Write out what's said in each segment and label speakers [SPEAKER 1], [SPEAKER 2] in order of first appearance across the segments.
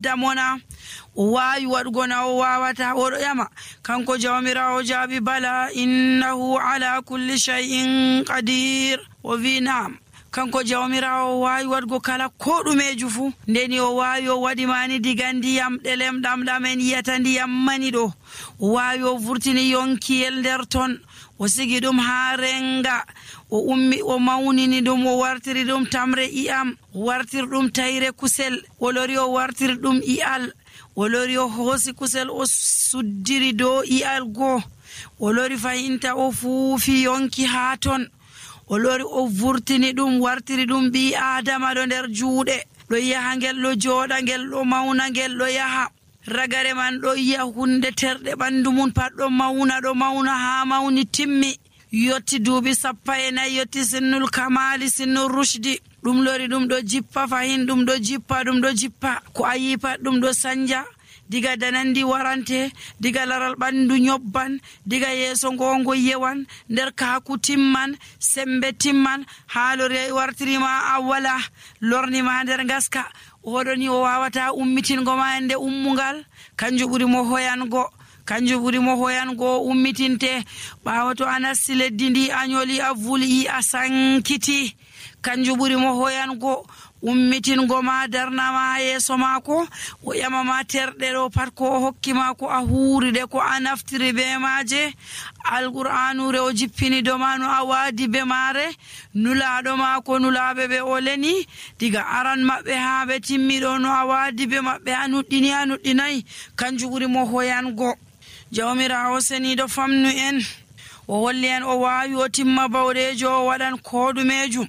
[SPEAKER 1] damona o waawi waɗugo na o waawata. oɗo ƴama kanko jawmirawo jaabi bala innahu ala kulli shay'in qadir. o wi naam, kanko jawmirawo o waawi waɗugo kala ko ɗumeju fuu. ndeni o waawi o waɗimani diga ndiyam ɗelem ɗam en yiyata ndiyam mani ɗo. o waawi o vurtini yonkiyel nder ton, o sigi ɗum haa renga, o ummi o mawnini ɗum, o wartiri ɗum tamre iyam, o wartiri ɗum tayre kusel, o lori o wartiri ɗum iyal, o lori o hoosi kusel o suddiri dow iyal goo, o lori fahinta o fuufi yonki haa ton, o lori o vurtini ɗum wartiri ɗum ɓi adama ɗo nder juuɗe, ɗo yaha ngel ɗo jooɗa ngel ɗo mawna ngel ɗo yaha. ragare man ɗo yi'a hunde terɗe ɓandu mum pat ɗo mawna haa mawni timmi, yotti duuɓi 14, yotti sinnul kamali sinnul rushdi. ɗum lori ɗum ɗo jippa fahin, ɗum ɗo jippa ko a yi pat ɗum ɗo sanja, diga danandi warante, diga laral ɓandu nyobban, diga yeeso ngongo yewan, nder kaaku timman, sembe timman, haa lori wartirima a wala, lornima nder ngaska. oɗoni o wawata ummitingo ma ende ummungal, kanju ɓuri mo hoyango ummitinte. ɓawo to a nasti leddi ndi a nyoli a vuli a sankiti, kanju ɓuri mo hoyango ummitingo ma, darnama yeeso mako, o ƴamama terɗe ɗo pat ko o hokkima ko a huuride ko a naftiri be maaje. alqur'anure o jippini do ma no a waadi be maare, nulaɗo ma ko nulaɓe ɓe o leni diga aran maɓɓe haa ɓe timmiɗo no a waadi be maɓɓe a nuɗɗinayi, kanju ɓuri mo hoyango. jawmirawo seniɗo famnu en, o holli en o waawi o timma bawɗejo o waɗan ko ɗumejum.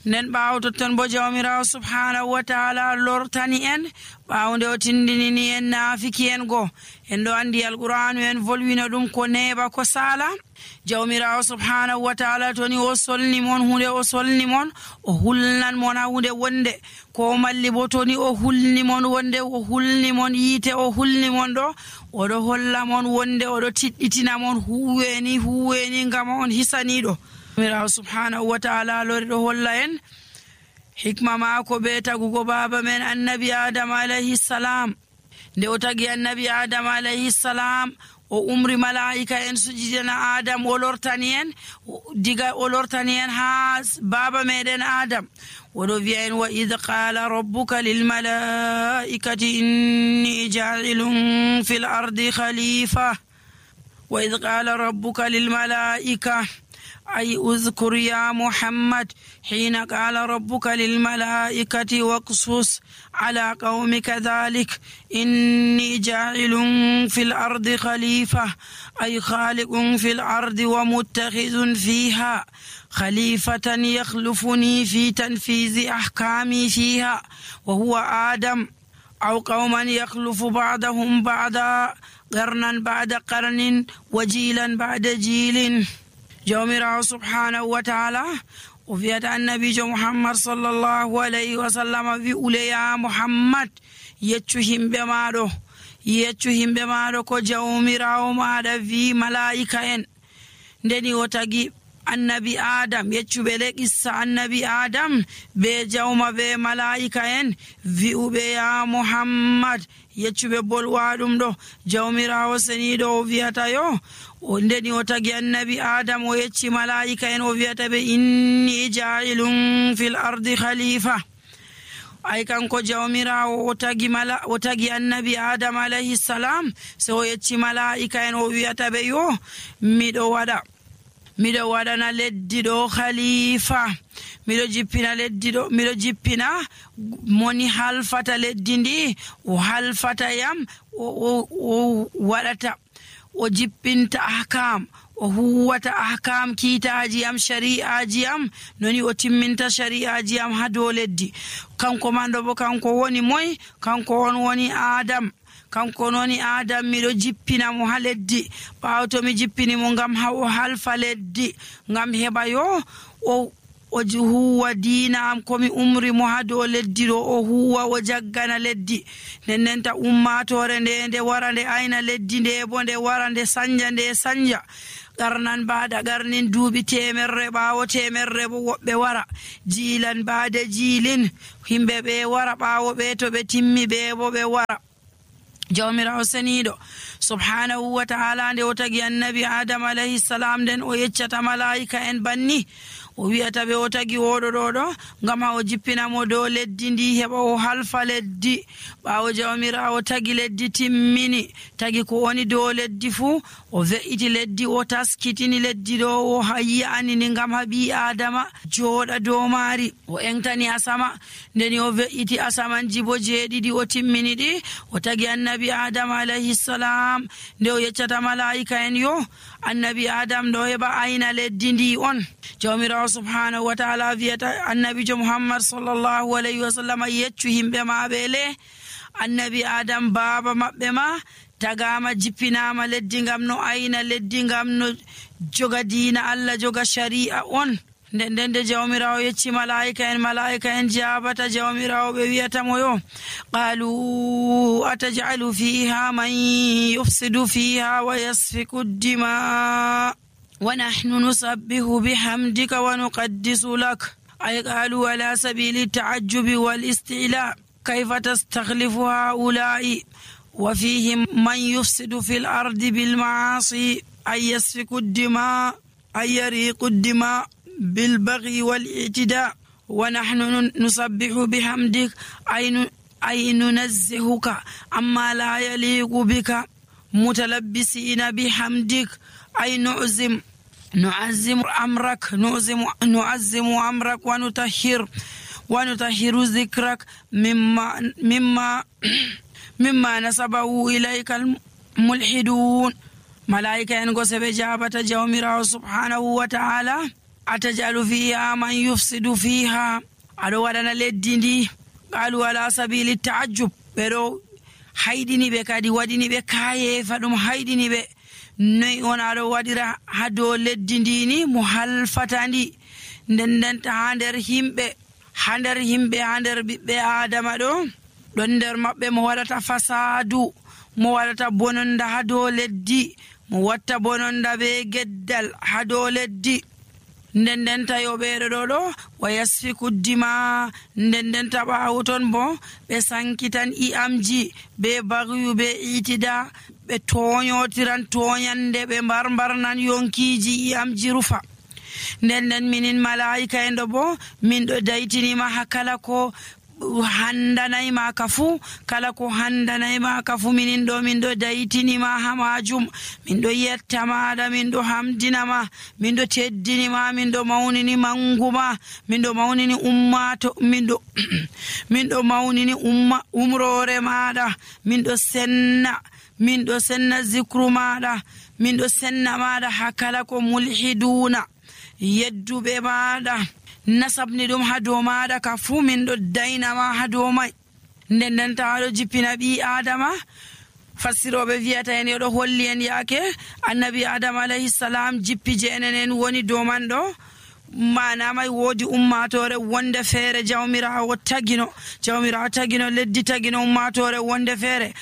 [SPEAKER 1] nden ɓaawo totton bo jawmirawo subhanahu wa taala lortani en ɓaawo nde o tindinini en naafiki en go. en ɗo andi alqur'anu en volwino ɗum ko neeɓa ko saala. jawmirawo subhanahu wa taala toni o solni mon hunde, o solni mon o hulnan mon ha hunde wonde, ko malli bo toni o hulni mon wonde, o hulni mon yiite, o hulni mon ɗo, oɗo holla mon wonde, oɗo tiɗɗitina mon huweni ngam on hisaniɗo. jawmirawo subhanahu wa taala lori ɗo holla en hikma maako be tagugo baba men annabi adama alayhi salam. nde o tagi annabi adama alayhi salam, o umri malaika en sujidana adam, o lortani en ha baba meɗen adam. oɗo wiya en wa id qala rabbuka lil malaikati inni ja'ilun fil ardi khalifa. wa id qala rabbuka lil malaika أي أذكر يا محمد حين قال ربك للملائكة واقصص على قومك ذلك إني جاعل في الأرض خليفة، أي خالق في الأرض ومتخذ فيها خليفة يخلفني في تنفيذ أحكامي فيها، وهو آدم، أو قوما يخلف بعضهم بعضا قرنا بعد قرن وجيلا بعد جيل. jawmirawo subhanahu wa taala o wiyata annabijo muhammad sallallahu alayhi wa sallam wi ule ya muhammad yeccu himɓe maɗo ko jawmirawo maɗa wi malaika en. ndeni o tagi annabi adam, yeccuɓe le qissa annabi adam be jawma be malaika en, wi'uɓe ya muhammad, yeccuɓe bolwa ɗum ɗo. jawmirawo seniɗo o wiyata yo, o ndeni o tagi annabi adam o yecci malaika en, o wiyata ɓe inni ja'ilun fil ardi khalifa. ay kanko jawmirawo o tagi annabi adam alayhi salam, so o yecci malaika en o wiyata ɓe yo miɗo waɗana leddi ɗo khalifa, miɗo jippina leddi ɗo, miɗo jippina moni halfata leddi ndi, o halfata yam, o waɗata, o jippinta ahkam, o huwata ahkam kiitaji am, shari'aji am, noni o timminta shari'aji am ha dow leddi. kanko manɗo bo kanko woni moy? kanko on woni adam. kanko noni adam, miɗo jippina mo ha leddi. ɓaawo to mi jippini mo ngam ha o halfa leddi, ngam heɓa yo o huwa diina am komi umri mo ha dow leddi ɗo, o huwa o jaggana leddi. nennenta ummatore nde wara nde ayna leddi nde bo nde wara nde sanja qarnan bada qarnin duuɓi temerre ɓaawo temerre bo woɓɓe wara jiilan bada jiilin himɓe ɓe wara ɓaawo ɓe to ɓe timmi ɓe bo ɓe wara. jawmirawo seniiɗo subhanahu wa ta'ala nde o tagi annabi adam alayhi salam nden o yeccata malaika en banni o wi'ata ɓe o tagi oɗo ɗo ngam ha o jippinamo dow leddi ndi heɓa o halfa leddi. ɓaawo jawmirawo tagi leddi timmini tagi ko woni dow leddi fuu o ve'iti leddi o taskitini leddi ɗo o yi'anini ngam ha ɓi adama jooɗa dow maari. o entani asama ndeni o ve'iti asamanji bo 7 o timmini ɗi o tagi annabi adam alayhi salam nde o yeccata malaika en yo annabi adam ɗo heɓa ayna leddi ndi on. jawmirawo subhanahu wa ta'ala wiyata annabijo muhammad sallallahu alayhi wa sallam yeccu himɓe maɓe le annabi adam baaba maɓɓe ma tagama jippinama leddi ngam no ayna leddi ngam no joga diina Allah joga shari'a on. nden de jawmirawo yecci malaika en jabata jawmirawo ɓe wiyatamo yo qalu atajalu fiha man yufsidu fiha wa yasfiku dima wa nahnu nusabbihu bihamdika wa nuqaddisu lak ay qalu ala sabili ta'ajjubi wal istila kayfa tastakhlifu haula'i wa fihim man yufsidu fil ardi bil ma'asi ay yasfiku dima ay yariqu dima بالبغي والاعتداء ونحن نسبح بحمدك أي ننزهك عما لا يليق بك متلبسين بحمدك أي نعزم أمرك ونطهر ذكرك مما نسبه إليك الملحدون. ملائكة ينقص بجابة جومرا سبحانه وتعالى atajalu fiha man yufsidu fiha aɗo waɗana leddi ndi qalu ala sabili ta'ajjub ɓeɗo hayɗini ɓe kadi waɗini ɓe kayefa ɗum hayɗini ɓe noyi on aɗo waɗira ha dow leddi ndini mo halfata ndi ndendenta ha nder himɓe ha nder ɓiɓɓe adama ɗon nder maɓɓe mo waɗata fasadu mo waɗata bononda ha dow leddi mo watta bononda be geddal ha dow leddi ndendenta yo ɓeɗo ɗo wa yasfiku dima ndendenta ɓaawo ton bo ɓe sankitan i'amji be bagyu be itida ɓe toñotiran toñande ɓe mbarnan yonkiji i'amji rufa. nden minin malaika en ɗo bo min ɗo daytinima ha kala ko handanayma ka fu minin ɗo min ɗo daytinima ha majum min ɗo yettamaɗa min ɗo hamdinama min ɗo teddinima min ɗo mawnini manguma min ɗo mawnini umrore maɗa min ɗo senna zikru maɗa min ɗo senna maɗa ha kala ko mulhiduna yedduɓe maɗa nasabni ɗum ha dow maɗa ka fuu min ɗo daynama ha dow may. ndendenta aɗo jippina ɓi adama fassiroɓe wiyata en yoɗo holli en yaake annabi adama alayhi salam jippi jeenen en woni dow man ɗo manamay woodi ummatore wonde feere jawmirawo tagino leddi tagino ummatore wonde feere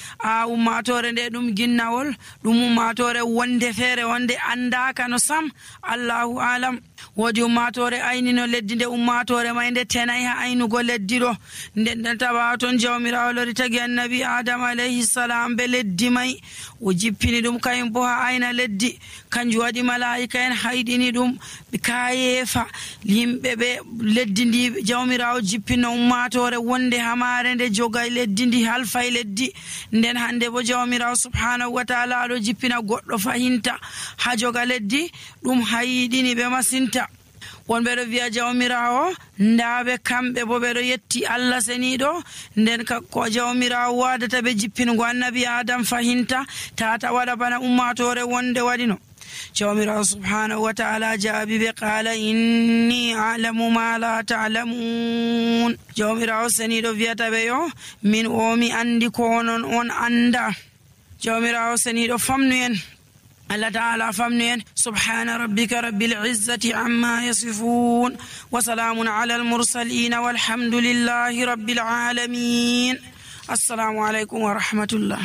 [SPEAKER 1] ummatore nde ɗum ginnawol ɗum ummatore wonde feere wonde andaka no sam allahu alam. woodi ummatore aynino leddi nde ummatore may nde tenay ha aynugo leddi ɗo nden tawa toon jawmirawo lori tagi annabi adama alayhi salam be leddi may o jippini ɗum kayum bo ha ayna leddi kanjum waɗi malaika en hayɗini ɗum kayefa yimɓe ɓe leddi ndi jawmirawo jippino ummatore wonde hamare nde jogay leddi ndi halfay leddi. nden hande bo jawmirawo subhanahu wa ta'ala aɗo jippina goɗɗo fahinta ha joga leddi ɗum hayɗini ɓe masinta. wonɓe ɗo wiya jawmirawo ndaɓe kamɓe bo ɓeɗo yetti Allah seniɗo nden ko jawmirawo wadata ɓe jippingo annabi adam fahinta tata waɗa bana ummatore wonde waɗino. jawmirawo subhanahu wa ta'ala jaabi ɓe qala inni a'lamu ma la ta'lamun. jawmirawo seniɗo wiyata ɓe yo min mi andi ko onon on anda. jawmirawo seniɗo famnu en Allah ta'ala famnu en subhana rabbika rabbil izzati amma yasifun wa salamun ala al mursalin walhamdulillahi rabbil alamin. assalamu alaikum wa rahmatullah.